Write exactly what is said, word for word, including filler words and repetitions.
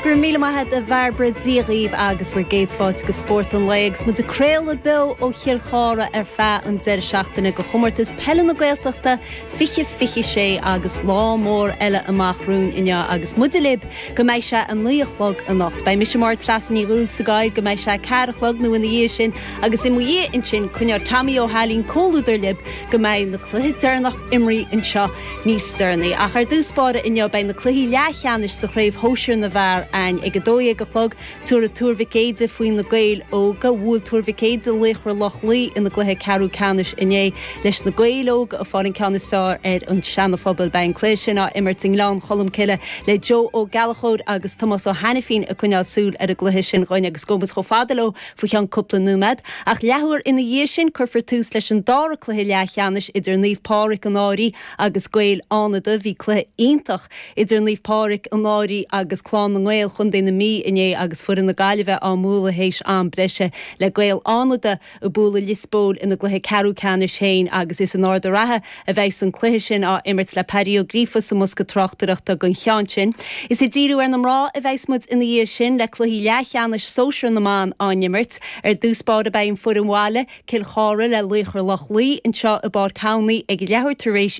Gur míle maith a Bhairbre Dia dhaoibh agus bhur gcéad fáilte go Spórt an Lae agus muid ag craoladh beo ó Chill Chartha ar feadh an deireadh seachtaine go chomórtas peile na Gaeltachta fiche fiche sé agus lá mór eile amach romhainn inniu agus muid libh go mbeidh sé a naoi a chlog anocht. Beidh mise mar Treasa Ní Dhúlsagaill go mbeidh sé ceathair a chlog nó ina dhiaidh sin agus i mo dhiaidh ansin coinneoidh Tommy Ó hAilín comhluadar libh go mbeidh na cluiche deireanach imeartha anseo níos deireanaí. Ach ar dtús báire inniu beidh na cluichí leathcheannais sa chraobh shóisir na bhfear ann ag a dó dhéag a chlog tabharfaidh Tuar Mhic Éadaigh faoi na Gaeil Óga bhuail Tuar Mhic Éadaigh Laochra Loch Lao ina gcluiche ceathrú ceannais inné leis na Gaeil Óga ag fáil an ceann is fearr ar an Seana-Phobal beidh an cluiche sin á imirt i nGleann Cholm Cille le Joe Ó Gallchóir agus Tomás Ó Hainifín ag coinneáil súil ar an gcluiche sin dhúinn agus gabhfaidh muid chomh fada leo faoi cheann cúpla nóiméad. Ach leathuair ina dhiaidh sin cuirfear tús leis an dara cluiche leathcheannais idir Naomh Pádraig an Fhairche agus Gaeil Fhánada bhí cluiche iontach idir Naomh Pádraig an Fhairche agus Clann na nGael Chontae na Mí inné agus foireann na Gaillimhe á mbualadh théis am breise le Gaeil Fhánada ag bualadh Lios Póil ina gcluiche ceathrú ceannais féin agus is in Ard an Rátha a bheidh an cluiche sin á imirt le Paddy Ó Gríofa sa mbosca tráchtaireachta don cheann sin. Is ag díriú ar na mná a bheidh muid ina dhiaidh sin le cluichí leathcheannais sóisir na mban á n-imirt ar dtús báire beidh an foireann bhaile Cill Chartha le Laochra Loch Lao anseo i bPáirc Thamhnaí ag leathuair tar éis